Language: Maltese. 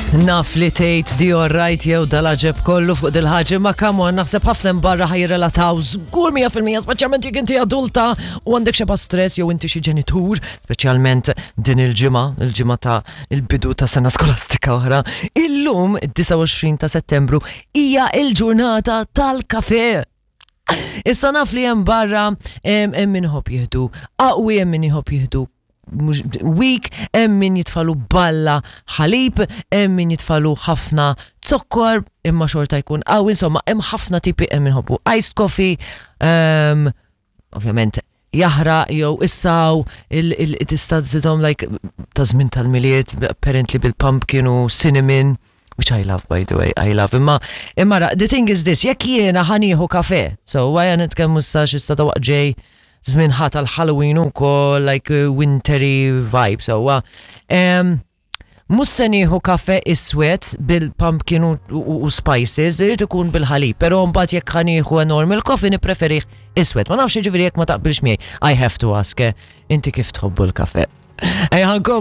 Naf li tgħid di alright jew dal-aġeb kollu fuq dil-ħaġa ma come on naħseb ħafna barra ħajrelataw żgur 100% speċjalment jekk inti adulta u għandek xeba stress jew inti xi ġenitur, speċjalment din il-ġimgħa, il-ġimgħa ta' il-bidu ta' sena skolastika oħra. Illum, 29 ta' Settembru, hija il-ġurnata tal-kafe. Issa naf li hemm barra hemm min iħobb jieħdu qawwi, hemm min iħobb jieħdu weak, hemm min jitfalu balla ħalib, hemm min jitfalu ħafna zokkor, imma xorta jkun qawwi, insomma hemm ħafna tipi hemm min iħobbu iced coffee, ovvjament jaħraq jew issaw tista' żidhom like ta' żmien tal-Milied apparently bil-pumpkin u cinnamon which I love by the way, I love. Imma imma the thing is this, jekk jiena ħa nieħu kafe, so għaja nitkellmu issa x'issa ta' waqt ġej żmien ħa tal-Halloween ukoll like wintery vibe, so um, Mhux se nieħu kafe iswed bil-pumpkin u, u, u spices, irid ikun bil-ħalib, però mbagħad jekk ħa nieħu a normal coffee nippreferih iswed. Ma nafx jiġifieri jekk ma taqbilx miegħi. I have to ask, eh, inti kif tħobbu l-kafe? Ejja.